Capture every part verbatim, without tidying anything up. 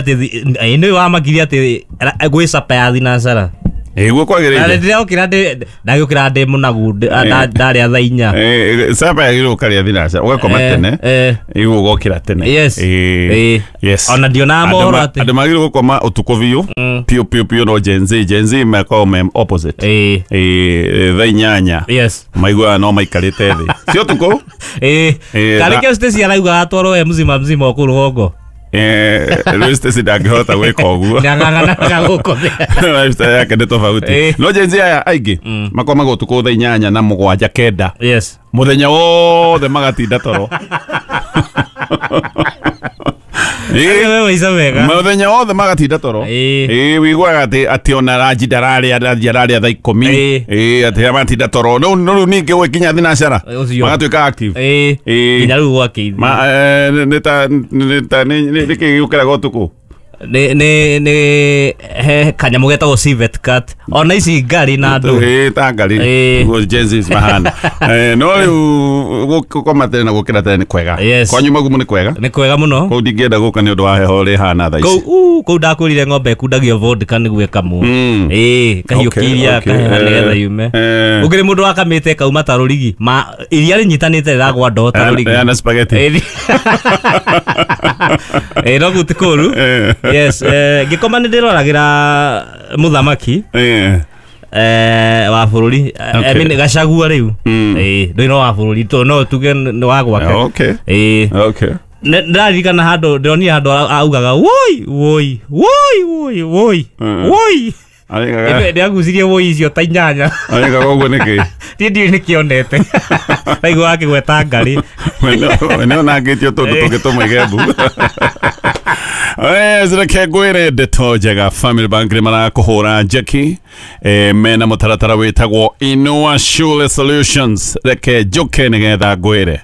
Atĩ nĩ wamakirie atĩ gwĩ capa ya thinacara. Ĩguo kwagĩrĩire. Ndĩrokĩra ndagĩũkĩra ndĩ mũnagu, ndarĩa thaa inya. Capa yagĩrĩirwo ũkarĩa thinacara, ũgakoma tene, ĩguo ũgokĩra tene. Yes. Yes. Ona ndionaga mohoro atĩ andũ magĩrĩirwo gũkoma ũtukũ biũ biũ biũ biũ, no Gen Z Gen Z makoragwo me opposite. Ĩĩ. Thaa inyanya Yes. maiguaga no maikarĩte thĩ, si ũtukũ. Ĩĩ. Karĩ kĩo Stacy araugaga atwarwo we mzima mzima o kũu rũgongo. Rĩu Stacy ndangĩhota gwĩka ũguo. Nĩang'ang'anaga gũkũ thĩ. Lifestyle yake nĩ tofauti. No Gen Z aya aingĩ makomaga ũtukũ thaa inyanya na mũgwanja kenda. Yes. Mũthenya wothe magatinda toro. Mũthenya wothe magatinda toro. Ĩĩ, wĩiguaga atĩ atĩ ona ranji ndararĩa, ranji ararĩa thaa ikũmi. Ĩĩ, atĩ matinda toro. No rĩu ningĩ gwĩkinya thinacara magatuĩka active. Ĩĩ. Nginya rĩu gwakĩithia. Nĩ ta nĩ ta nĩ kĩĩ gĩũkĩraga ũtukũ? Nĩ nĩ nĩ he kanyamũ getagwo civet cat. Ona ici ngari na andũ. Ĩĩ, ta ngari. Nĩguo Gen Z mahana. No rĩu gũkoma tene na gũkĩra tene nĩ kwega. Kwanyu Magumu nĩ kwega? Nĩ kwega mũno. Kũu ndingĩenda gũka nĩ ũndũ wa heho ũrĩa ĩhana thaa ici. Kũu kũu ndakwĩrire ng'ombe ĩkundagio vodka nĩguo ĩkamwo. Ĩĩ, kahiũkia iria kaheha nĩgetha yume. Ũngĩrĩ mũndũ wakamĩte ĩkauma ta rũrigi. Ma iria rĩnyitanĩte rĩragwa ndoo ta rũrigi. Na spaghetti. Ĩĩ, no kũu ti kũũru. Yes, ngĩkoma nĩ ndĩroragĩra mũthamaki wa bũrũri. I mean Gachagua rĩu. Ĩĩ, ndũĩ no wa bũrũri, tondũ no tuge nĩ wa gwake. Okay. Ĩĩ. Okay. Ndĩraririkana handũ ndĩronire handũ augaga woi woi woi woi woi woi. Ndĩagucirie woi icio ta inyanya. Arĩkaga ũguo nĩkĩ? Niĩ ndiũĩ nĩkĩonete. Ndaigua akĩgweta ngari. We nĩonangĩtio tũndũ tũngĩ tũmũige mbu. Reke ngwĩre ndeto njega, Family Bank nĩ marakũhũra njeki mena mũtaratara wĩtagwo Inua Shule Solutions. Reke njũke nĩgetha ngwĩre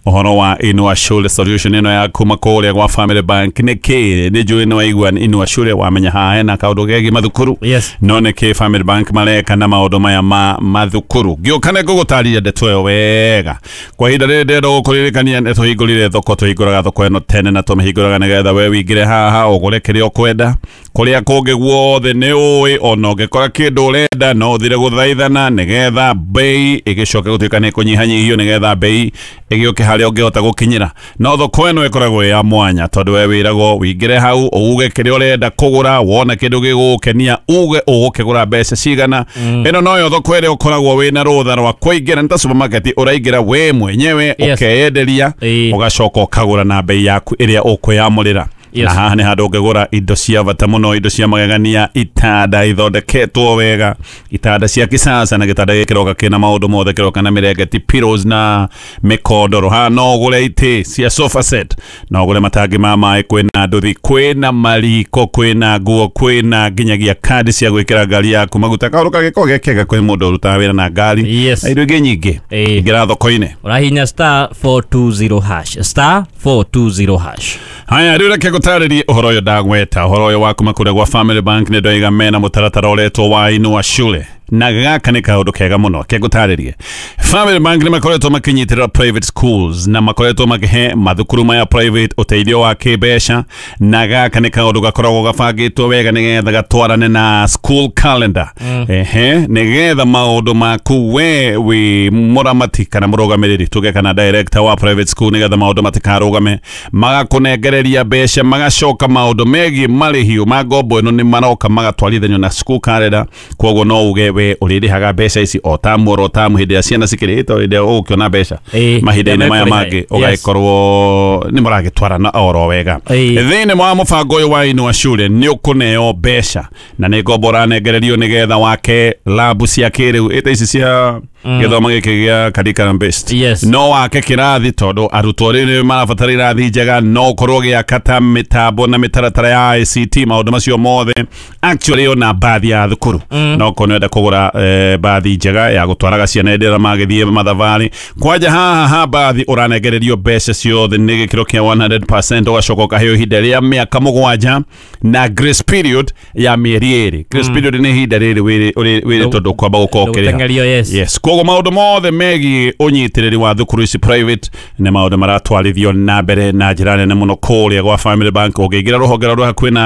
ũhoro wa Inua Shule Solution ĩno ya kuma kũrĩa gwa Family Bank. Nĩkĩ nĩ njũĩ nĩ waigua Inua Shule wamenya haha hena kaũndũ kegiĩ mathukuru. Yes. No nĩkĩ Family Bank mareka na maũndũ maya ma mathukuru. Ngĩũka nĩ ngũgũtarĩria ndeto ĩyo wega. Kwa ihinda rĩrĩ ndĩrenda gũkũririkania nĩ tũhingũrire thoko, tũhingũraga thoko ĩno tene na tũmĩhingũraga nĩgetha we wĩingĩre haha ũgũre kĩrĩa ũkwenda. Kũrĩa kũngĩ guothe nĩ ũĩ, ona ũngĩkora kĩndũ ũrenda no ũthire gũthaithana nĩgetha bei ĩgĩcoke gũtuĩka nĩ ĩkũnyihanyihio nĩgetha bei ĩgĩũke harĩa ũngĩhota gũkinyĩra. No thoko ĩno ĩkoragwo ĩ ya mwanya tondũ we wĩragwo wĩingĩre hau uge kĩrĩa ũrenda kũgũra, wona kĩndũ gĩgũgũkenia uge ũgũkĩgũra mbeca cigana. Ĩno noyo thoko ĩrĩa ũkoragwo wĩna rũtha rwa kũingĩra, nĩ ta supermarket ũraingĩra we mwenyewe ũkeyenderia ũgacoka ũkagũra na bei yaku ĩrĩa ũkwĩyamũrĩra. Yes. Na haha nĩ handũ ũngĩgũra indo cia bata mũno, indo cia magegania, itanda ithondeketwo wega, itanda cia kisasa, na gĩtanda gĩkĩ kĩroka kĩna maũndũ mothe, kĩroka na mĩrengeti, pillows na mĩkondoro. Haha no ũgũre itĩ cia sofa set, no ũgũre matangi ma maĩ, kwĩna nduthi, kwĩna mariko, kwĩna nguo, kwĩna nginyagia kandi cia gwĩkĩra ngari yaku maguta. Kaũndũ kangĩkorwo ge kega kwĩ mũndũ ũrutaga wĩra na ngari. Yes. Na indo ingĩ nyingĩ. Ingĩra thoko-inĩ. Ũrahihinya star four two zero hash, star four two zero hash. Haya, rĩu reke ngũtarĩrie ũhoro ũyũ ndagweta, ũhoro ũyũ wa kuma kũrĩa gwa Family Bank. Nĩ ndoiga mena mũtaratara ũretwo wa Inua Shule, na gaka nĩ kaũndũ kega mũno ke ngũtarĩrie. Family Bank nĩ makoretwo makĩnyitĩrĩra private schools na makoretwo makĩhe mathukuru maya private ũteithio wa kĩmbeca, na gaka nĩ kaũndũ gakoragwo gabangĩtwo wega nĩgetha gatwarane na school calendar. Ehe, nĩgetha maũndũ maku we wĩ mũramati kana mũrũgamĩrĩri tuge kana director wa private school, nĩgetha maũndũ matikarũgame, magakũnengereria mbeca, magacoka maũndũ megiĩ marĩhi ma ngombo ĩno nĩ maroka magatwarithanio na school calendar. Koguo no uge we ũrĩrĩhaga mbeca ici o tamu oro tamu hĩndĩ ĩrĩa ciana cikĩrĩte, hĩndĩ ĩrĩa ũgũkĩona mbeca mahinda-inĩ maya mangĩ ũgagĩkorwo nĩ mũragĩtwarana oro wega. Thĩinĩ wa mũbango ũyũ wa Inua Shule nĩ ũkũneo mbeca na nĩ ngombo ũranengererio nĩgetha wake labu cia kĩrĩu ĩta ici cia gĩthomo gĩkĩ gĩa curriculum based. Yes. No wake kĩrathi tondũ arutwo rĩu nĩ marabatara irathi njega, no ũkorwo ũgĩaka ta mĩtambo na mĩtaratara ya I C T, maũndũ macio mothe. Actually ona bathi ya thukuru no ũkorwo nĩũrenda kũgũra bathi njega ya gũtwaraga ciana hĩndĩ ĩrĩa magĩthiĩ mathabarĩ. Kwanja haha ha bathi ũranengererio mbeca ciothe nĩ gĩkĩro kĩa one hundred percent, ũgacoka ũkaheo ihinda rĩa mĩaka mũgwanja na grace period ya mĩeri ĩrĩ. Grace period nĩ ihinda rĩrĩ wĩrĩtwo ndũkwamba gũkorwo ũkĩrĩha. Yes. Yes. Koguo maũndũ mothe megiĩ ũnyitĩrĩri wa thukuru ici private nĩ maũndũ maratwarithio na mbere na njĩra nene mũno kũrĩa gwa Family Bank. Ũngĩingĩra rũhonge rwa hakuhĩ nawe.